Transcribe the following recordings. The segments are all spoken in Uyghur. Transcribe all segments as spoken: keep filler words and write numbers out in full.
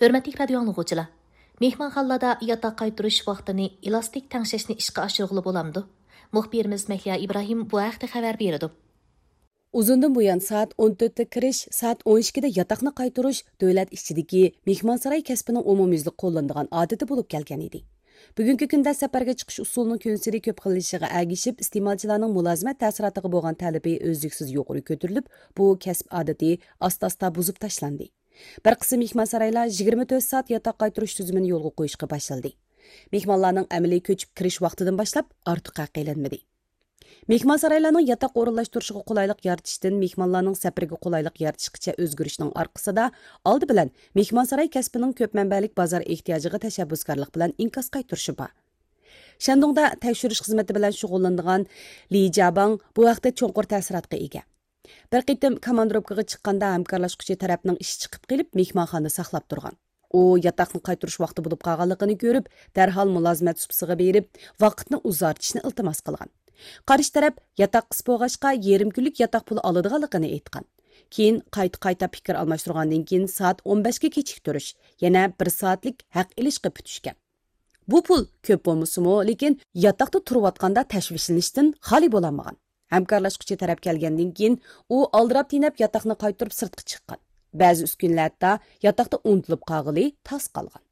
ھۆرمەتلىك رادىيو ئاڭلىغۇچىلار! مېھمانخانىلاردا ياتاق قايتۇرۇش ۋاقتىنى ئېلاستىك تەڭشەشنى ئىشقا ئاشۇرغىلى بولامدۇ؟ مۇخبىرىمىز مەھلىيا ئىبراھىم بۇ ھەقتە خەۋەر بېرىدۇ. ئۇزۇندىن بۇيان سائەت ئون تۆتتە كىرىش، سائەت ئون ئىككىدە ياتاقنى قايتۇرۇش دۆلەت ئىچىدىكى مېھمانساراي كەسپىنىڭ ئومۇميۈزلۈك قوللىنىدىغان ئادىتى بولۇپ كەلگەن ئىدى. بۈگۈنكى كۈندە سەپەرگە چىقىش ئۇسۇلىنىڭ كۈنسېرى كۆپ خىللىشىشىغا ئەگىشىپ، ئىستېمالچىلارنىڭ مۇلازىمەت تەسىراتىغا بولغان تەلىپى ئۈزلۈكسىز يۇقىرى كۆتۈرۈلۈپ، بۇ كەسىپ ئادىتى ئاستا-ئاستا بۇزۇپ تاشلاندى. بىر قىسىم مېھمانسارايلار يىگىرمە تۆت سائەت ياتاق قايتۇرۇش تۈزۈمىنى يولغا قويۇشقا باشلىدى. مېھمانلارنىڭ ئەمەلىي كۆچۈپ كىرىش ۋاقتىدىن باشلاپ ئارتۇق ھەق ئېلىنمىدى. مېھمانسارايلارنىڭ ياتاق ئورۇنلاشتۇرۇشىغا قولايلىق يارىتىشتىن مېھمانلارنىڭ سەپىرىگە قولايلىق يارىتىشقىچە ئۆزگىرىشنىڭ ئارقىسىدا، ئالدى بىلەن مېھمانساراي كەسپىنىڭ كۆپ مەنبەلىك بازار ئېھتىياجىغا تەشەببۇسكارلىق بىلەن ئىنكاس قايتۇرۇشى بار. شەندۇڭدا تەكشۈرۈش خىزمىتى بىلەن شۇغۇللىنىدىغان لى جياباڭ بۇ ھەقتە چوڭقۇر تەسىراتقا ئىگە. بىر قېتىم كاماندىروپكىغا چىققاندا ھەمكارلاشقۇچى تەرەپنىڭ ئىشى چىقىپ قېلىپ، مېھمانخانىدا ساقلاپ تۇرغان. ئۇ ياتاقنى قايتۇرۇش ۋاقتى بولۇپ قالغانلىقىنى كۆرۈپ، دەرھال مۇلازىمەت سۇپىسىغا بېرىپ، ۋاقىتنى ئۇزارتىشنى ئىلتىماس قىلغان. قارشى تەرەپ ياتاق قىس بولغاچقا، يېرىم كۈنلۈك ياتاق پۇلى ئالىدىغانلىقىنى ئېيتقان. كېيىن قايتا-قايتا پىكىر ئالماشتۇرغاندىن كېيىن، سائەت ئون بەشكە كېچىكتۈرۈش، يەنە بىر سائەتلىك ھەق ئېلىشقا پۈتۈشكەن. بۇ پۇل كۆپ بولمىسىمۇ، لېكىن ياتاقتا تۇرۇۋاتقاندا تەشۋىشلىنىشتىن خالىي بولالمىغان. ھەمكارلاشقۇچى تەرەپ كەلگەندىن كېيىن، ئۇ ئالدىراپ تېنەپ ياتاقنى قايتۇرۇپ سىرتقا چىققان. بەزى ئۈسكۈنىلەر ھەتتا ياتاقتا ئۇنتۇلۇپ قالغىلى تاس قالغان.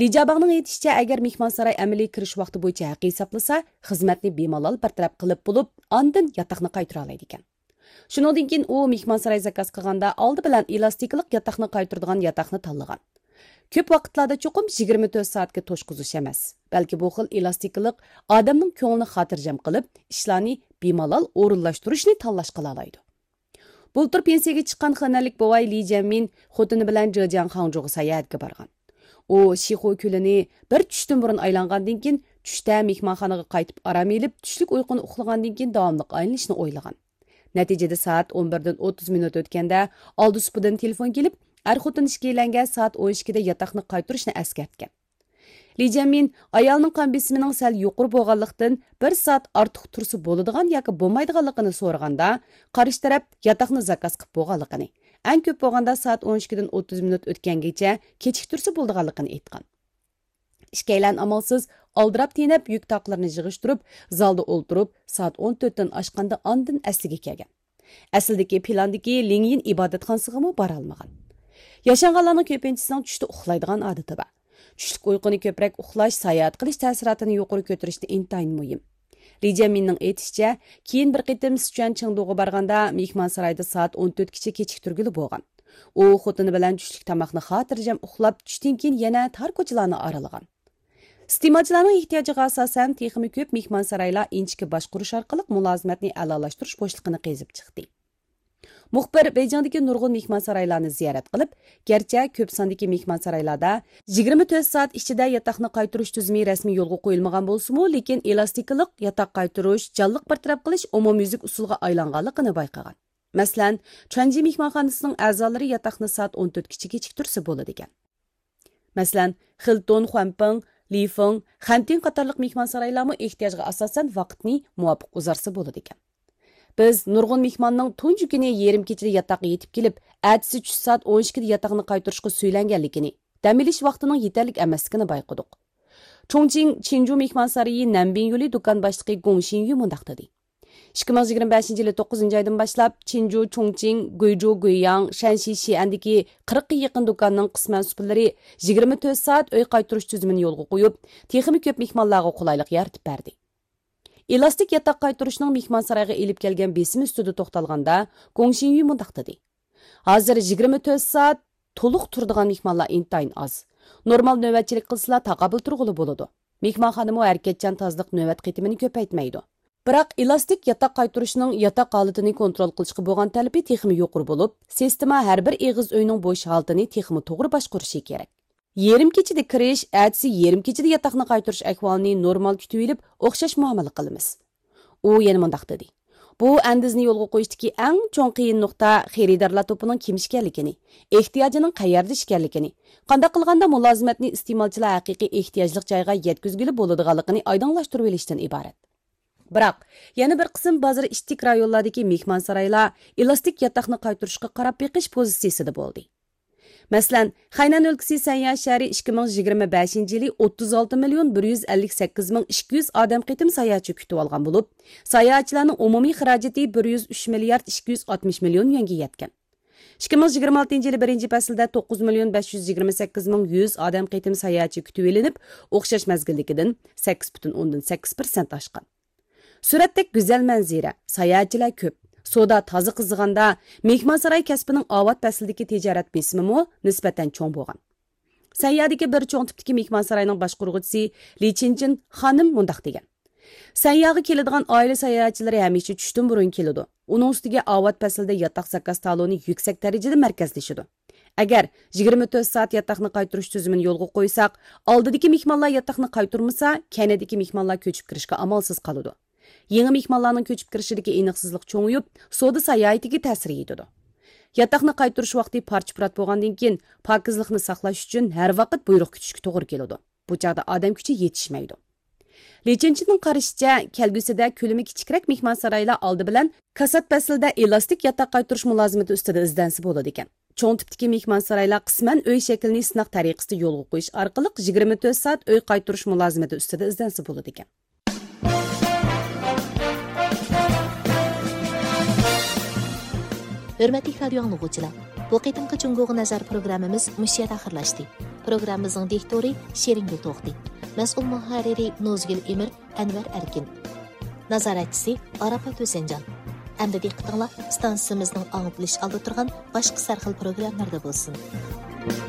لى جياباڭنىڭ ئېيتىشىچە، ئەگەر مېھمانساراي ئەمەلىي كىرىش ۋاقتى بويىچە ھەق ھېسابلىسا، خىزمەتنى بىمالال بىر تەرەپ قىلىپ بولۇپ، ئاندىن ياتاقنى قايتۇرالايدىكەن. شۇنىڭدىن كېيىن ئۇ مېھمانساراي زاكاز قىلغاندا ئالدى بىلەن ئېلاستىكىلىق ياتاقنى قايتۇرىدىغان ياتاقنى تاللىغان. كۆپ ۋاقىتلاردا چوقۇم يىگىرمە تۆت سائەتكە توشقۇزۇش ئەمەس، بەلكى بۇ خىل ئېلاستىكىلىق ئادەمنىڭ كۆڭلىنى خاتىرجەم قىلىپ، ئىشلارنى بىمالال ئورۇنلاشتۇرۇشنى تاللاش قىلالايدۇ. بۇلتۇر پېنسىيەگە چىققان خېنەنلىك بوۋاي لى جيەنمىن خوتۇنى بىلەن جېجياڭ خاڭجۇغا ساياھەتكە بارغان. ئۇ شىخۇ كۆلىنى بىر چۈشتىن بۇرۇن ئايلانغاندىن كېيىن، چۈشتە مېھمانخانىغا قايتىپ ئارام ئېلىپ، چۈشلۈك ئۇيقۇنى ئۇخلىغاندىن كېيىن داۋاملىق ئايلىنىشنى ئويلىغان. نەتىجىدە سائەت ئون بىردىن ئوتتۇز مىنۇت ئۆتكەندە، ئالدى سۇپىدىن تېلېفون كېلىپ، ئەر خوتۇن ئىككىيلەنگە سائەت ئون ئىككىدە ياتاقنى قايتۇرۇشنى ئەسكەرتكەن. لى جيەنمىن ئايالنىڭ قان بېسىمىنىڭ سەل يۇقىرى بولغانلىقتىن، بىر سائەت ئارتۇق تۇرسا بولىدىغان ياكى بولمايدىغانلىقىنى سورىغاندا، قارشى تەرەپ ياتاقنى زاكاز قىلىپ بولغانلىقىنى، ئەڭ كۆپ بولغاندا سائەت ئون ئىككىدىن ئوتتۇز مىنۇت ئۆتكەنگىچە كېچىكتۈرسە بولىدىغانلىقىنى ئېيتقان. ئىككىيلەن ئامالسىز ئالدىراپ تېنەپ يۈك تاقلىرىنى يىغىشتۇرۇپ، زالدا ئولتۇرۇپ، سائەت ئون تۆتتىن ئاشقاندا ئاندىن ئەسلىگە كەلگەن. ئەسلىدىكى پىلاندىكى لىڭيىن ئىبادەتخانىسىغىمۇ بارالمىغان. ياشانغانلارنىڭ كۆپىنچىسىنىڭ چۈشتە ئۇخلايدىغان ئادىتى بار. چۈشلۈك ئۇيقۇنى كۆپرەك ئۇخلاش ساياھەت قىلىش تەسىراتىنى يۇقىرى كۆتۈرۈشتە ئىنتايىن مۇھىم. لى جيەنمىننىڭ ئېيتىشىچە، كېيىن بىر قېتىم سىچۈەن چېڭدۇغا بارغاندا، مېھمانسارايدا سائەت ئون تۆتكىچە كېچىكتۈرگىلى بولغان. ئۇ خوتۇنى بىلەن چۈشلۈك تاماقنى خاتىرجەم ئۇخلاپ، چۈشتىن كېيىن يەنە تار كوچىلارنى ئارىلىغان. ئىستېمالچىلارنىڭ ئېھتىياجىغا ئاساسەن، تېخىمۇ كۆپ مېھمانسارايلار ئىنچىكە باشقۇرۇش ئارقىلىق مۇلازىمەتنى ئەلالاشتۇرۇش بوشلۇقىنى قېزىپ چىقتى. مۇخبىر بېيجىڭدىكى نۇرغۇن مېھمانسارايلارنى زىيارەت قىلىپ، گەرچە كۆپ ساندىكى مېھمانسارايلاردا يىگىرمە تۆت سائەت ئىچىدە ياتاقنى قايتۇرۇش تۈزۈمى رەسمىي يولغا قويۇلمىغان بولسىمۇ، لېكىن ئېلاستىكىلىق ياتاق قايتۇرۇش، جانلىق بىر تەرەپ قىلىش ئومۇميۈزلۈك ئۇسۇلغا ئايلانغانلىقىنى بايقىغان. مەسىلەن، چۈەنجى مېھمانخانىسىنىڭ ئەزالىرى ياتاقنى سائەت ئون تۆتكىچە كېچىكتۈرسە بولىدىكەن. مەسىلەن، خىلتون، خۇەنپىڭ، لىفېڭ، خەنتىڭ قاتارلىق مېھمانسارايلارمۇ ئېھتىياجغا ئاساسەن ۋاقىتنى مۇۋاپىق ئۇزارتسا بولىدىكەن. بىز نۇرغۇن مېھماننىڭ تۇنجى كۈنى يېرىم كېچىدە ياتاققا يېتىپ كېلىپ، ئەتىسى چۈش سائەت ئون ئىككىدە ياتاقنى قايتۇرۇشقا سۈيلەنگەنلىكىنى، دەم ئېلىش ۋاقتىنىڭ يېتەرلىك ئەمەسلىكىنى بايقىدۇق. چۇڭچىڭ چىنجۇ مېھمانسارىيى نەنبىن يولى دۇكان باشلىقى گوڭ شىنيۈ مۇنداق دېدى. ئىككى مىڭ يىگىرمە بەشىنچى يىلى توققۇزىنچى ئايدىن باشلاپ، چىنجۇ، چۇڭچىڭ، گۇيجۇ، گۇيياڭ، شەنشى، شىئەندىكى قىرىققا يېقىن دۇكاننىڭ قىسمەن سۇپىلىرى يىگىرمە تۆت سائەت ئۆي قايتۇرۇش تۈزۈمىنى يولغا قويۇپ، تېخىمۇ كۆپ مېھمانلارغا قولايلىق يارىتىپ بەردى. ئېلاستىك ياتاق قايتۇرۇشنىڭ مېھمانسارايغا ئېلىپ كەلگەن بېسىمى ئۈستىدە توختالغاندا، گوڭ شىنيۈ مۇنداق دېدى: ھازىر يىگىرمە تۆت سائەت تولۇق تۇرىدىغان مېھمانلار ئىنتايىن ئاز. نورمال نۆۋەتچىلىك قىلسىلا تاقابىل تۇرغىلى بولىدۇ. مېھمانخانىمۇ ھەرىكەتچان تازىلىق نۆۋەت قېتىمىنى كۆپەيتمەيدۇ. بىراق ئېلاستىك ياتاق قايتۇرۇشنىڭ ياتاق ھالىتىنى كونترول قىلىشقا بولغان تەلىپى تېخىمۇ يۇقىرى بولۇپ، سىستېما ھەر بىر ئېغىز ئۆينىڭ بوش ھالىتىنى تېخىمۇ توغرا باشقۇرۇشى كېرەك. يېرىم كېچىدە كىرىش، ئەتىسى يېرىم كېچىدە ياتاقنى قايتۇرۇش ئەھۋالىنى نورمال كۈتۈۋېلىپ، ئوخشاش مۇئامىلە قىلىمىز. ئۇ يەنە مۇنداق دېدى: بۇ ئەندىزىنى يولغا قويۇشتىكى ئەڭ چوڭ قىيىن نۇقتا خېرىدارلار توپىنىڭ كىم ئىكەنلىكىنى، ئېھتىياجىنىڭ قەيەردىشى ئىكەنلىكىنى، قانداق قىلغاندا مۇلازىمەتنى ئىستېمالچىلار ھەقىقىي ئېھتىياجلىق جايغا يەتكۈزگىلى بولىدىغانلىقىنى ئايدىڭلاشتۇرۇۋېلىشتىن ئىبارەت. بىراق، يەنە بىر قىسىم بازار ئىچىدىكى رايونلاردىكى مېھمانسارايلار ئېلاستىك ياتاقنى قايتۇرۇشقا قاراپ بېقىش پوزىتسىيىسىدە بولدى. مەسىلەن، خەينەن ئۆلكىسى سەنيا شەھىرى ئىككى مىڭ يىگىرمە بەشىنچى يىلى ئوتتۇز ئالتە مىليون بىر يۈز ئەللىك سەككىز مىڭ ئىككى يۈز ئادەم قېتىم ساياھەتچى كۈتۈۋالغان بولۇپ، ساياھەتچىلەرنىڭ ئومۇمىي خىراجىتى بىر يۈز ئۈچ مىليارد ئىككى يۈز ئاتمىش مىليون يۈەنگە يەتكەن. ئىككى مىڭ يىگىرمە ئالتىنچى يىلى بىرىنچى پەسىلدە توققۇز مىليون بەش يۈز يىگىرمە سەككىز مىڭ يۈز ئادەم قېتىم ساياھەتچى كۈتۈۋېلىنىپ، ئوخشاش مەزگىلدىكىدىن سەككىز پۈتۈن ئوندىن سەككىز پىرسەنت ئاشقان. سۈرەتتەك گۈزەل مەنزىرە، ساياھەتچىلەر كۆپ، سودا تازا قىزىغاندا، مېھمانساراي كەسپىنىڭ ئاۋات پەسلىدىكى تىجارەت بېسىمىمۇ نىسبەتەن چوڭ بولغان. سەنيادىكى بىر چوڭ تىپتىكى مېھمانساراينىڭ باشقۇرغۇچىسى لى چىنچىن خانىم مۇنداق دېگەن: سەنياغا كېلىدىغان ئائىلە ساياھەتچىلىرى ھەمىشە چۈشتىن بۇرۇن كېلىدۇ. ئۇنىڭ ئۈستىگە ئاۋات پەسلىدە ياتاق زاكاز تالونى يۈكسەك دەرىجىدە مەركەزلىشىدۇ. ئەگەر يىگىرمە تۆت سائەت ياتاقنى قايتۇرۇش تۈزۈمىنى يولغا قويساق، ئالدىدىكى مېھمانلار ياتاقنى قايتۇرمىسا، كەينىدىكى مېھمانلار كۆچۈپ كىرىشكە ئامالسىز قالىدۇ. يېڭى مېھمانلارنىڭ كۆچۈپ كىرىشىدىكى ئېنىقسىزلىق چوڭىيىپ، سودا ساياھىتىگە تەسىر يېتىدۇ. ياتاقنى قايتۇرۇش ۋاقتى پارچە-پۇرات بولغاندىن كېيىن، پاكىزلىقنى ساقلاش ئۈچۈن ھەر ۋاقىت بۇيرۇق كۈتۈشكە توغرا كېلىدۇ. بۇ چاغدا ئادەم كۈچى يېتىشمەيدۇ. لى چىنچىننىڭ قارىشىچە، كەلگۈسىدە كۆلىمى كىچىكرەك مېھمانسارايلار ئالدى بىلەن كاسات پەسلىدە ئېلاستىك ياتاق قايتۇرۇش مۇلازىمىتى ئۈستىدە ئىزدەنسە بولىدىكەن. چوڭ تىپتىكى مېھمانسارايلار قىسمەن ئۆي شەكلىنى سىناق تەرىقىسىدە يولغا قويۇش ئارقىلىق يىگىرمە تۆت سائەت ئۆي قايتۇرۇش مۇلازىمىتى ئۈستىدە ئىزدەنسە بولىدىكەن. ھۆرمەتلىك رادىيو ئاڭلىغۇچىلار، بۇ قېتىمقى جۇڭگوغا نەزەر پروگراممىمىز مۇشۇ يەردە ئاخىرلاشتى. پروگراممىمىزنىڭ دىكتورى شېرىنگۈل توختى، مەسئۇل مۇھەررىرى نوزگۈل ئېمىر، ئەنۋەر ئەركىن. نازارەتچىسى ئاراپات ھۈسەنجان. ئەمدى دىققىتىڭلار ئىستانسىمىزنىڭ ئاڭلىتىلىش ئالدىدا تۇرغان باشقا سەرخىل پروگراممىلاردا بولسۇن.